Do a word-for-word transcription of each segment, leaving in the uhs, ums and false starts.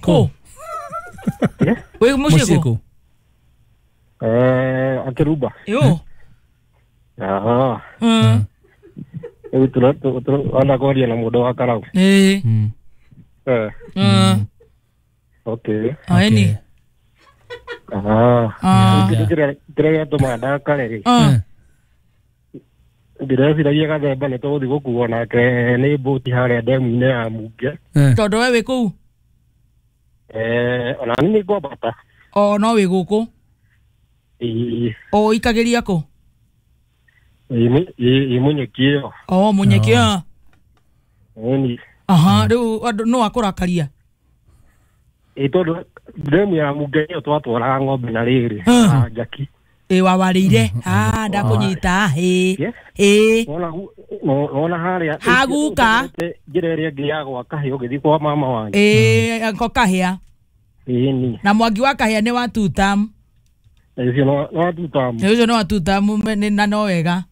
Kũ? Eh? Wĩ mũciĩ Mũciĩ kũ? kũ? Eh, Akĩrumba. Yo. Ah. Mm. Rĩu tũra- tũ- tũ- wana kwaria na mũndũ wa Karau. Ĩĩ. Mm. Eh, Mm. okay. Aeni. Ah. Ah. Kĩndũ kĩrĩa kĩrĩa gĩatũmaga ndakare rĩ, Ah. ndĩreciragia gathemba nĩ tũgũthiĩ gũkuo nake nĩ mbũti harĩa ndemu-inĩ ya Munge. Eh. Tondũ we wĩ kũu? Eh, ona niĩ nĩ ngwambata. O no wĩ gũkũ? Ĩĩ, O ikagĩria kũ? ĩĩ, mũ- ĩĩ, ĩĩ, mũnyeki ĩyo. O mũnyeki. Ah. Ĩni. Aha, rĩu andũ no akũrakaria. Ĩĩ, tondũ ndemu ya Munge ĩyo twatwaraga ng'ombe na rĩrĩ, Ah. na njaki. Ĩ wawarĩire. Ah, ndakũnyita. Ĩ. Yeah. Ĩ. Wona gu- no- wona harĩa Haguka. njĩra ĩrĩa ĩngĩ ya gwa kahĩa ũgĩthiĩ kwa mama wanyu. Ĩ, ko kahĩa. Ĩni. Na mwangi wa kahĩa nĩ wa tutam. Ũcio no no watutamu. Nĩ ũcio nĩ wa tutam nĩ- na no wega.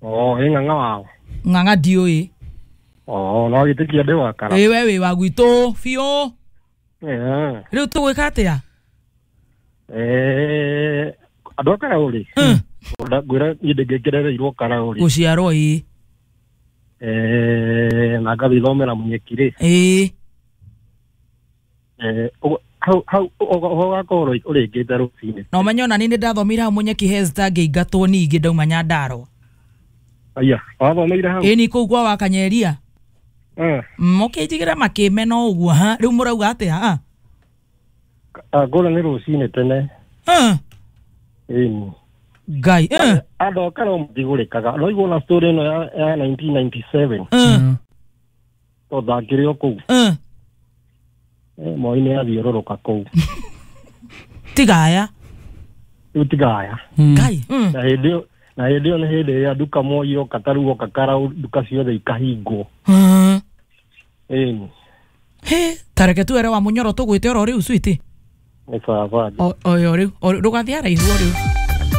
Oh, ĩ ng'ang'a wao. Ng'ang'a ndiũĩ. Oh, no gĩtĩkia ndĩ wa Karau. Ĩ we wĩ wa gwitũ biũ. Eh. Rĩu tũgwĩka atĩa? Eh, andũ a Karau rĩ, Mm. ngwĩra niĩ ndĩngĩkerereirwo Karau rĩ. Gũciarwo ĩ. Eh, na ngathiĩ thomera mũnyeki rĩ. Ĩ. Eh, ũguo- hau hau ũgakorwo ũrĩkĩte rũcinĩ. Na ũmenye ona niĩ nĩ ndathomire hau mũnyeki Hesta ngĩingatwo ningĩ ndauma Nyandarũa. Aya, wathomeire hau? Ĩ ni kũu kwa Wakanyeria. Eh, Mũkĩnjigĩra makĩmena ũguo ha. Rĩu mũrauga atĩa? Ah. ah, ngũra nĩ rũcinĩ tene. Ah. Ĩni. Ngai. Eh. Andũ a Karau matigũrĩkaga. No igua na story ĩno ya ya nineteen ninety-seven. Eh. Mm. Tondũ ndakĩrĩ o kũu. Eh. Eh, Moi nĩ athiũrũrũka kũu. Tigaya. Rĩu tigaya. Mm. Ngai. Mm. Na hĩndĩ ĩyo na hĩndĩ ĩyo nĩ hĩndĩ ĩrĩa nduka Moi oka ta rĩu oka Karau nduka ciothe ikahingwo. Mm. Ĩni. He, tareke tuere wa munyoro tũgwĩte oro rĩu switi. Nĩ baba. O oyo rĩu. O- Ndũgathiĩ haraihu o rĩu.